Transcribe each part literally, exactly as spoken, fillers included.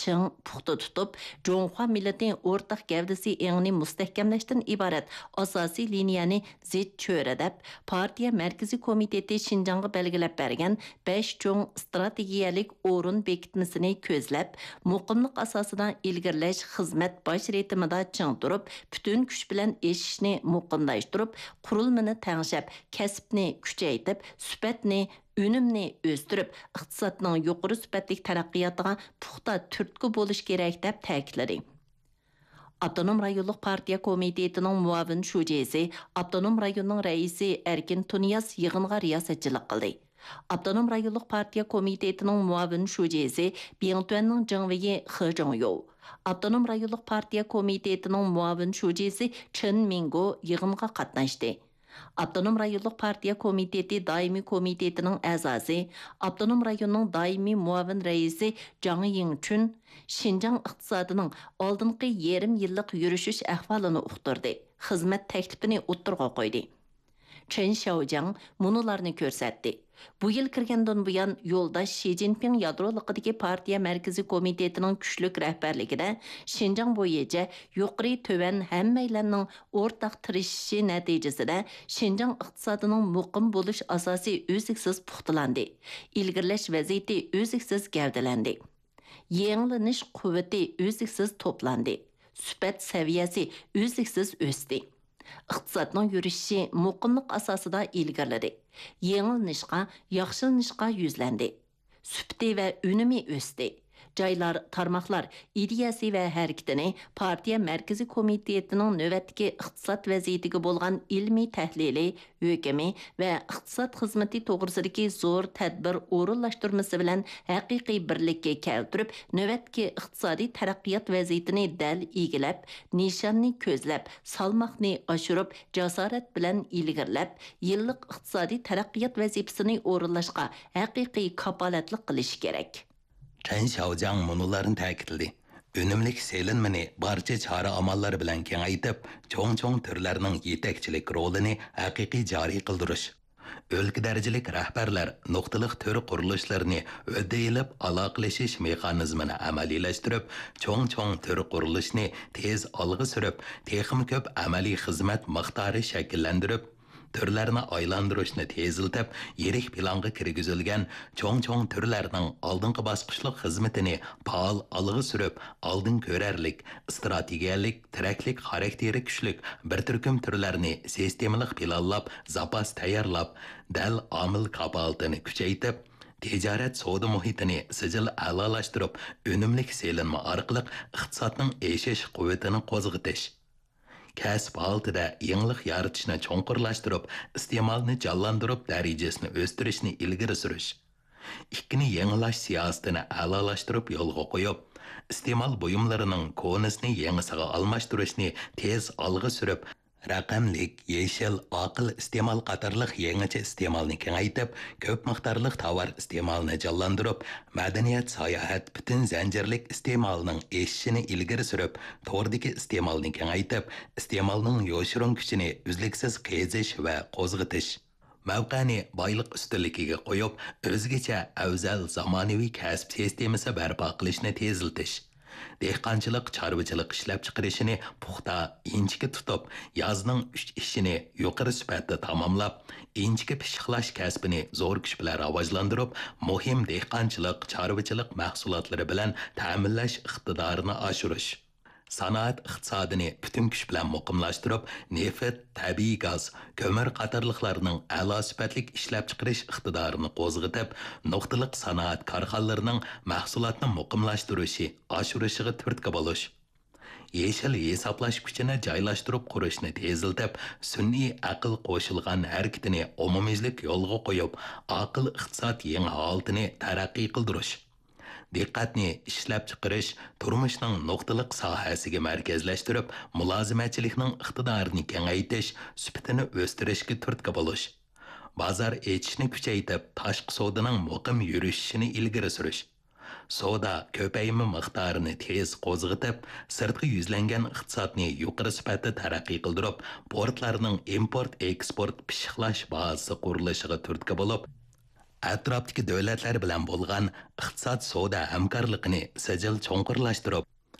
چىڭ، پۇختا تۇتۇپ، جۇڭخۇا مىللىتى ئورتاق گەۋدىسى ئېڭىنى مۇستەھكەملەشتىن ئىبارەت ئاساسىي لىنىيەنى زىچ چۆرىدەپ، پارتىيە مەركىزىي كومىتېتى شىنجاڭغا بەلگىلەپ بەرگەن بەش چوڭ ئىستراتېگىيەلىك ئورۇن بېكىتمىسىنى كۆزلەپ، مۇقىملىق ئاساسىدا ئىلگىرىلەش خىزمەت باش رىتىمىدا چىڭ تۇرۇپ، پۈتۈن كۈچ بىلەن ئېشىشنى مۇقىملاشتۇرۇپ، قۇرۇلمىنى تەڭشەپ، كەسىپنى كۈچەيتىپ، سۈپەتنى، ئۈنۈمنى ئۆستۈرۈپ، ئىقتىسادنىڭ يۇقىرى سۈپەتلىك تەرەققىياتىغا پۇختا تۈرتكە بولۇش كېرەك، دەپ تەكىتلىدى. ئاپتونوم رايونلۇق پارتىيە كومىتېتىنىڭ مۇئاۋىن شۇجىسى، ئاپتونوم رايوننىڭ رەئىسى ئەركىن تۇنىياز يىغىنغا رىياسەتچىلىك قىلدى. ئاپتونوم رايونلۇق پارتىيە كومىتېتىنىڭ مۇئاۋىن شۇجىسى، بىڭتۈەننىڭ جېڭۋېيى خې جۇڭيو، ئاپتونوم رايونلۇق پارتىيە كومىتېتىنىڭ مۇئاۋىن شۇجىسى چېن مىڭگو يىغىنغا قاتناشتى. ئاپتونوم رايونلۇق پارتىيە كومىتېتى دائىمىي كومىتېتىنىڭ ئەزاسى، ئاپتونوم رايوننىڭ دائىمىي مۇئاۋىن رەئىسى جاڭ يىڭچۈن شىنجاڭ ئىقتىسادىنىڭ ئالدىنقى يېرىم يىللىق يۈرۈشۈش ئەھۋالىنى ئۇقتۇردى، خىزمەت تەكلىپىنى ئوتتۇرىغا قويدى. چېن شياۋجياڭ مۇنۇلارنى كۆرسەتتى. بۇ يىل كىرگەندىن بۇيان، يولداش شى جىنپىڭ يادرولۇقىدىكى پارتىيە مەركىزىي كومىتېتىنىڭ كۈچلۈك رەھبەرلىكىدە شىنجاڭ بويىچە يۇقىرى، تۆۋەن ھەممەيلەننىڭ ئورتاق تىرىشىشى نەتىجىسىدە، شىنجاڭ ئىقتىسادىنىڭ مۇقىم بولۇش ئاساسى ئۈزلۈكسىز پۇختىلاندى، ئىلگىرىلەش ۋەزىيىتى ئۈزلۈكسىز گەۋدىلەندى. يېڭىلىنىش قۇۋۋىتى ئۈزلۈكسىز توپلاندى. سۈپەت سەۋىيەسى ئۈزلۈكسىز ئۆستى. ئىقتىسادنىڭ يۈرۈشۈشى مۇقىملىق ئاساسىدا ئىلگىرىلىدى. يېڭىلىنىشقا، ياخشىلىنىشقا يۈزلەندى. سۈپىتى ۋە ئۈنۈمى ئۆستى. جايلار، تارماقلار ئىدىيەسى ۋە ھەرىكىتىنى پارتىيە مەركىزىي كومىتېتىنىڭ نۆۋەتتىكى ئىقتىساد ۋەزىيىتىگە بولغان ئىلمىي تەھلىلى، ھۆكمى ۋە ئىقتىساد خىزمىتى توغرىسىدىكى زور تەدبىر ئورۇنلاشتۇرمىسى بىلەن ھەقىقىي بىرلىككە كەلتۈرۈپ، نۆۋەتتىكى ئىقتىسادىي تەرەققىيات ۋەزىيىتىنى دەل ئىگىلەپ، نىشاننى كۆزلەپ، سالماقنى ئاشۇرۇپ، جاسارەت بىلەن ئىلگىرىلەپ، يىللىق ئىقتىسادىي تەرەققىيات ۋەزىپىسىنى ئورۇنلاشقا ھەقىقىي كاپالەتلىك قىلىشى كېرەك. چەن شياۋجياڭ مۇنۇلارنى تەكىتلىدى: ئۈنۈملۈك سېلىنمىنى بارچە چارە-ئاماللار بىلەن كېڭەيتىپ، چوڭ-چوڭ تۈرلەرنىڭ يېتەكچىلىك رولىنى ھەقىقىي جارى قىلدۇرۇش، ئۆلكە دەرىجىلىك رەھبەرلەر نۇقتىلىق تۈر قۇرۇلۇشلىرىنى ھۆددە ئېلىپ، ئالاقىلىشىش مېخانىزمىنى ئەمەلىيلەشتۈرۈپ، چوڭ-چوڭ تۈر قۇرۇلۇشىنى تېز ئالغا سۈرۈپ، تېخىمۇ كۆپ ئەمەلىي خىزمەت مىقدارى شەكىللەندۈرۈپ، تۈرلەرنى ئايلاندۇرۇشنى تېزلىتىپ، يىرىك پىلانغا كىرگۈزۈلگەن چوڭ-چوڭ تۈرلەرنىڭ ئالدىنقى باسقۇچلۇق خىزمىتىنى پائال ئالغا سۈرۈپ، ئالدىن كۆرەرلىك، ئىستراتېگىيەلىك، تىرەكلىك خاراكتېرى كۈچلۈك بىر تۈركۈم تۈرلەرنى سىستېمىلىق پىلانلاپ، زاپاس تەييارلاپ، دەل ئامىل كاپالىتىنى كۈچەيتىپ، تىجارەت سودا مۇھىتىنى سىجىل ئەلالاشتۇرۇپ، ئۈنۈملۈك سېلىنما ئارقىلىق ئىقتىسادنىڭ ئېشىش قۇۋۋىتىنى قوزغىتىش. كەسىپ ھالىتىدە يېڭىلىق يارىتىشنى چوڭقۇرلاشتۇرۇپ، ئىستېمالنى جانلاندۇرۇپ، دەرىجىسىنى ئۆستۈرۈشنى ئىلگىرى سۈرۈش. ئىككىنى يېڭىلاش سىياسىتىنى ئەلالاشتۇرۇپ يولغا قويۇپ، ئىستېمال بۇيۇملىرىنىڭ كونىسىنى يېڭىسىغا ئالماشتۇرۇشنى تېز ئالغا سۈرۈپ، رەقەملىك، يېشىل، ئاقىل ئىستېمال قاتارلىق يېڭىچە ئىستېمالنى كېڭەيتىپ، كۆپ مىقدارلىق تاۋار ئىستېمالىنى جانلاندۇرۇپ، مەدەنىيەت، ساياھەت، پۈتۈن زەنجىرلىك ئىستېمالنىڭ ئېشىشىنى ئىلگىرى سۈرۈپ، توردىكى ئىستېمالنى كېڭەيتىپ، ئىستېمالنىڭ يوشۇرۇن كۈچىنى ئۈزلۈكسىز قېزىش ۋە قوزغىتىش. مەۋقەنى بايلىق ئۈستۈنلۈكىگە قويۇپ، ئۆزگىچە ئەۋزەل زامانىۋى كەسىپ سىستېمىسى بەرپا قىلىشنى تېزلىتىش. دېھقانچىلىق، چارۋىچىلىق ئىشلەپچىقىرىشىنى پۇختا، ئىنچىكە تۇتۇپ، يازنىڭ ئۈچ ئېشىنى يۇقىرى سۈپەتتە تاماملاپ، ئىنچىكە پىششىقلاش كەسپىنى زور كۈچ بىلەن راۋاجلاندۇرۇپ، مۇھىم دېھقانچىلىق، چارۋىچىلىق مەھسۇلاتلىرى بىلەن تەمىنلەش ئىقتىدارىنى ئاشۇرۇش. سانائەت ئىقتىسادىنى پۈتۈن كۈچ بىلەن مۇقىملاشتۇرۇپ، نېفىت، تەبىئىي گاز، كۆمۈر قاتارلىقلارنىڭ ئەلا سۈپەتلىك ئىشلەپچىقىرىش ئىقتىدارىنى قوزغىتىپ، نۇقتىلىق سانائەت كارخانىلىرىنىڭ مەھسۇلاتنى مۇقىملاشتۇرۇشى، ئاشۇرۇشىغا تۈرتكە بولۇش. يېشىل ھېسابلاش كۈچىنى جايلاشتۇرۇپ قۇرۇشنى تېزلىتىپ، سۈنئىي ئەقىل قوشۇلغان ھەرىكىتىنى ئومۇميۈزلۈك يولغا قويۇپ، ئاقىل ئىقتىساد يېڭى ھالىتىنى تەرەققىي قىلدۇرۇش. دىققەتنى ئىشلەپچىقىرىش، تۇرمۇشنىڭ نۇقتىلىق ساھەسىگە مەركەزلەشتۈرۈپ، مۇلازىمەتچىلىكنىڭ ئىقتىدارىنى كېڭەيتىش، سۈپىتىنى ئۆستۈرۈشكە تۈرتكە بولۇش. بازار ئېچىشنى كۈچەيتىپ، تاشقى سودىنىڭ مۇقىم يۈرۈشۈشىنى ئىلگىرى سۈرۈش. سودا كۆپەيمە مىقدارىنى تېز قوزغىتىپ، سىرتقا يۈزلەنگەن ئىقتىسادنى يۇقىرى سۈپەتتە تەرەققىي قىلدۇرۇپ، پورتلارنىڭ ئىمپورت ئېكسپورت پىششىقلاش بازىسى قۇرۇلۇشىغا تۈرتكە بولۇپ، ئەتراپتىكى دۆلەتلەر بىلەن بولغان ئىقتىساد سودا ھەمكارلىقىنى سىجىل چوڭقۇرلاشتۇرۇپ،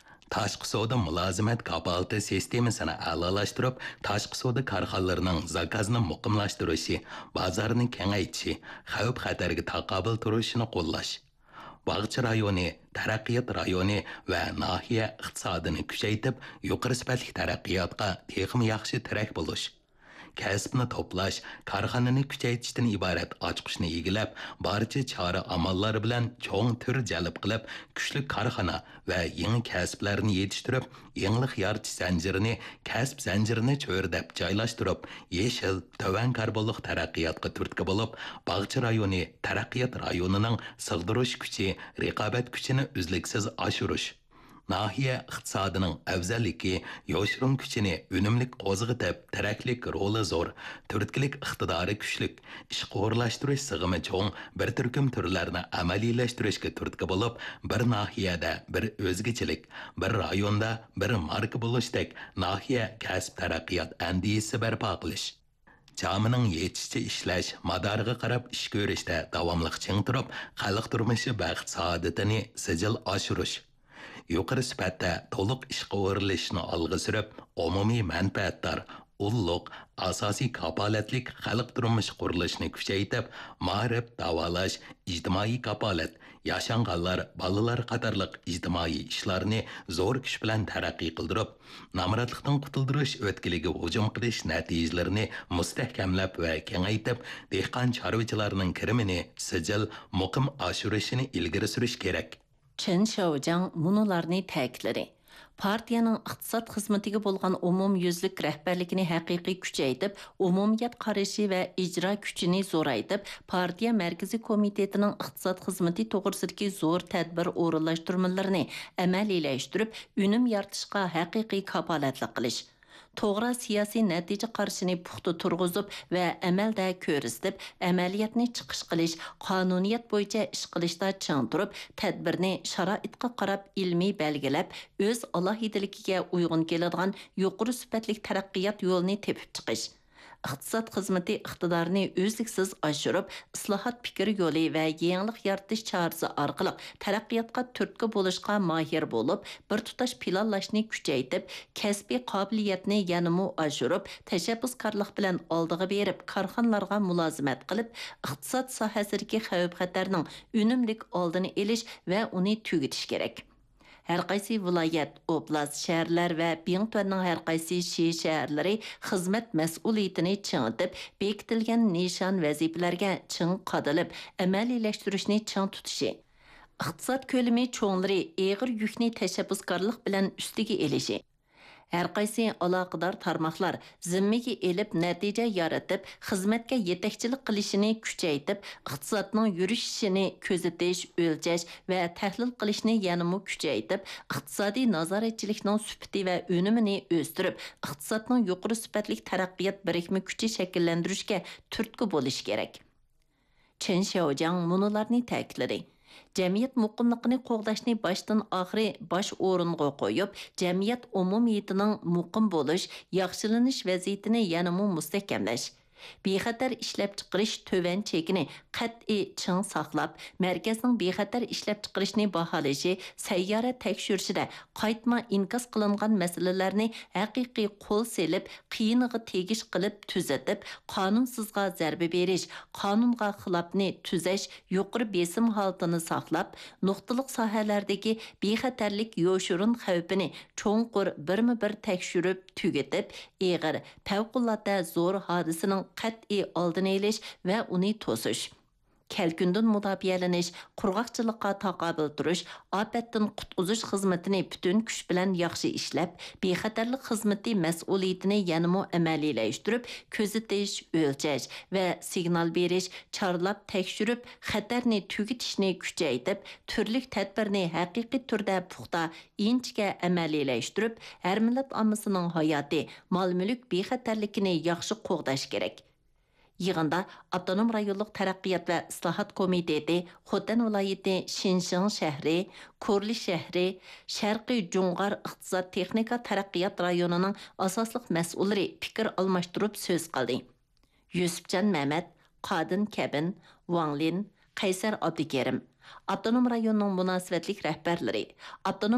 تاشقى سودا مۇلازىمەت كاپالىتى سىستېمىسىنى ئەلالاشتۇرۇپ، تاشقى سودا كارخانىلىرىنىڭ زاكازنى مۇقىملاشتۇرۇشى، بازارنى كېڭەيتىشى، خەۋپ-خەتەرگە تاقابىل تۇرۇشىنى قوللاش. باغچە رايونى تەرەققىيات رايونى ۋە ناھىيە ئىقتىسادىنى كۈچەيتىپ، يۇقىرى سۈپەتلىك تەرەققىياتقا تېخىمۇ ياخشى تىرەك بولۇش. كەسىپنى توپلاش، كارخانىنى كۈچەيتىشتىن ئىبارەت ئاچقۇچنى ئىگىلەپ، بارچە چارە-ئاماللار بىلەن چوڭ تۈر جەلپ قىلىپ، كۈچلۈك كارخانا ۋە يېڭى كەسىپلەرنى يېتىشتۈرۈپ، يېڭىلىق يارىتىش زەنجىرىنى، كەسىپ زەنجىرىنى چۆرىدەپ جايلاشتۇرۇپ، يېشىل، تۆۋەن كاربونلۇق تەرەققىياتقا تۈرتكە بولۇپ، باغچە رايونى تەرەققىيات رايونىنىڭ سىغدۇرۇش كۈچى، رىقابەت كۈچىنى ئۈزلۈكسىز ئاشۇرۇش. ناھىيە ئىقتىسادىنىڭ ئەۋزەللىكى، يوشۇرۇن كۈچىنى ئۈنۈملۈك قوزغىتىپ، تىرەكلىك رولى زور، تۈرتكىلىك ئىقتىدارى كۈچلۈك، ئىشقا ئورۇنلاشتۇرۇش سىغىمى چوڭ بىر تۈركۈم تۈرلەرنى ئەمەلىيلەشتۈرۈشكە تۈرتكە بولۇپ، بىر ناھىيەدە بىر ئۆزگىچىلىك، بىر رايوندا بىر ماركا بولۇشتەك ناھىيە كەسىپ تەرەققىيات ئەندىزىسى بەرپا قىلىش. جامىنىڭ يېتىشىچە ئىشلەش، مادارىغا قاراپ ئىش كۆرۈشتە داۋاملىق چىڭ تۇرۇپ، خەلق تۇرمۇشى بەخت-سائادىتىنى سىجىل ئاشۇرۇش. يۇقىرى سۈپەتتە تولۇق ئىشقا ئورۇنلىشىشنى ئالغا سۈرۈپ، ئومۇمىي مەنپەئەتدار، ئۇللۇق، ئاساسىي كاپالەتلىك خەلق تۇرمۇشى قۇرۇلۇشىنى كۈچەيتىپ، مائارىپ، داۋالاش، ئىجتىمائىي كاپالەت، ياشانغانلار، بالىلار قاتارلىق ئىجتىمائىي ئىشلارنى زور كۈچ بىلەن تەرەققىي قىلدۇرۇپ، نامراتلىقتىن قۇتۇلدۇرۇش ئۆتكىلىگە ھۇجۇم قىلىش نەتىجىلىرىنى مۇستەھكەملەپ ۋە كېڭەيتىپ، دېھقان چارۋىچىلارنىڭ كىرىمىنى سىجىل، مۇقىم ئاشۇرۇشىنى ئىلگىرى سۈرۈش كېرەك. چېن شياۋجياڭ مۇنۇلارنى تەكىتلىدى: پارتىيەنىڭ ئىقتىساد خىزمىتىگە بولغان ئومۇميۈزلۈك رەھبەرلىكىنى ھەقىقىي كۈچەيتىپ، ئومۇمىيەت قارىشى ۋە ئىجرا كۈچىنى زورايتىپ، پارتىيە مەركىزىي كومىتېتىنىڭ ئىقتىساد خىزمىتى توغرىسىدىكى زور تەدبىر ئورۇنلاشتۇرمىلىرىنى ئەمەلىيلەشتۈرۈپ، ئۈنۈم يارىتىشقا ھەقىقىي كاپالەتلىك قىلىش. توغرا سىياسىي نەتىجە قارىشىنى پۇختا تۇرغۇزۇپ ۋە ئەمەلدە كۆرسىتىپ، ئەمەلىيەتنى چىقىش قىلىش، قانۇنىيەت بويىچە ئىش قىلىشتا چىڭ تۇرۇپ، تەدبىرنى شارائىتقا قاراپ ئىلمىي بەلگىلەپ، ئۆز ئالاھىدىلىكىگە ئۇيغۇن كېلىدىغان يۇقىرى سۈپەتلىك تەرەققىيات يولىنى تېپىپ چىقىش. ئىقتىساد خىزمىتى ئىقتىدارىنى ئۈزلۈكسىز ئاشۇرۇپ، ئىسلاھات پىكىر يولى ۋە يېڭىلىق يارىتىش چارىسى ئارقىلىق تەرەققىياتقا تۈرتكە بولۇشقا ماھىر بولۇپ، بىر تۇتاش پىلانلاشنى كۈچەيتىپ، كەسپىي قابىلىيەتنى يەنىمۇ ئاشۇرۇپ، تەشەببۇسكارلىق بىلەن ئالدىغا بېرىپ، كارخانىلارغا مۇلازىمەت قىلىپ، ئىقتىساد ساھەسىدىكى خەۋپ-خەتەرنىڭ ئۈنۈملۈك ئالدىنى ئېلىش ۋە ئۇنى تۈگىتىش كېرەك. ھەرقايسى ۋىلايەت، ئوبلاست، شەھەرلەر ۋە بىڭتۈەننىڭ ھەرقايسى شى شەھەرلىرى خىزمەت مەسئۇلىيىتىنى چىڭىتىپ، بېكىتىلگەن نىشان ۋەزىپىلەرگە چىڭ قادىلىپ، ئەمەلىيلەشتۈرۈشنى چىڭ تۇتۇشى، ئىقتىساد كۆلىمى چوڭلىرى ئېغىر يۈكنى تەشەببۇسكارلىق بىلەن ئۈستىگە ئېلىشى، ھەرقايسى ئالاقىدار تارماقلار زىممىگە ئېلىپ، نەتىجە يارىتىپ، خىزمەتكە يېتەكچىلىك قىلىشىنى كۈچەيتىپ، ئىقتىسادنىڭ يۈرۈشۈشىنى كۆزىتىش، ئۆلچەش ۋە تەھلىل قىلىشنى يەنىمۇ كۈچەيتىپ، ئىقتىسادىي نازارەتچىلىكنىڭ سۈپىتى ۋە ئۈنۈمىنى ئۆستۈرۈپ، ئىقتىسادنىڭ يۇقىرى سۈپەتلىك تەرەققىيات بىرىكمە كۈچى شەكىللەندۈرۈشكە تۈرتكە بولۇشى كېرەك. چېن شياۋجياڭ مۇنۇلارنى تەكىتلىدى: جەمئىيەت مۇقىملىقىنى قوغداشنى باشتىن-ئاخىرى باش ئورۇنغا قويۇپ، جەمئىيەت ئومۇمىيىتىنىڭ مۇقىم بولۇش، ياخشىلىنىش ۋەزىيىتىنى يەنىمۇ مۇستەھكەملەش، بىخەتەر ئىشلەپچىقىرىش تۆۋەن چېكىنى قەتئىي چىڭ ساقلاپ، مەركەزنىڭ بىخەتەر ئىشلەپچىقىرىشنى باھالىشى، سەييارە تەكشۈرۈشىدە قايتما ئىنكاس قىلىنغان مەسىلىلەرنى ھەقىقىي قول سېلىپ، قىيىنىغا تېگىش قىلىپ تۈزىتىپ، قانۇنسىزغا زەربە بېرىش، قانۇنغا خىلاپنى تۈزەش يۇقىرى بېسىم ھالىتىنى ساقلاپ، نۇقتىلىق ساھەلەردىكى بىخەتەرلىك يوشۇرۇن خەۋپىنى چوڭقۇر بىرمۇ بىر تەكشۈرۈپ تۈگىتىپ، ئېغىر، پەۋقۇلئاددە زور ھادىسىنىڭ قەتئىي ئالدىنى ئېلىش ۋە ئۇنى توسۇش. كەلكۈندىن مۇداپىئەلىنىش، قۇرغاقچىلىققا تاقابىل تۇرۇش، ئاپەتتىن قۇتقۇزۇش خىزمىتىنى پۈتۈن كۈچ بىلەن ياخشى ئىشلەپ، بىخەتەرلىك خىزمىتى مەسئۇلىيىتىنى يەنىمۇ ئەمەلىيلەشتۈرۈپ، كۆزىتىش، ئۆلچەش ۋە سىگنال بېرىش، چارلاپ تەكشۈرۈپ، خەتەرنى تۈگىتىشنى كۈچەيتىپ، تۈرلۈك تەدبىرنى ھەقىقىي تۈردە پۇختا، ئىنچىكە ئەمەلىيلەشتۈرۈپ، ھەر مىللەت ئاممىسىنىڭ ھاياتى، مال-مۈلۈك بىخەتەرلىكىنى ياخشى قوغداش كېرەك. يىغىندا ئاپتونوم رايونلۇق تەرەققىيات ۋە ئىسلاھات كومىتېتى، خوتەن ۋىلايىتى شىنشىڭ شەھىرى، كورلى شەھىرى، شەرقىي جۇڭغار ئىقتىساد تېخنىكا تەرەققىيات رايونىنىڭ ئاساسلىق مەسئۇللىرى پىكىر ئالماشتۇرۇپ سۆز قىلدى. يۈسۈپجان مەمەت، قادىن كەبىن، ۋاڭ لىن، قەيسەر ئابدۇكېرىم، ئاپتونوم رايوننىڭ مۇناسىۋەتلىك رەھبەرلىرى، ئاپتونوم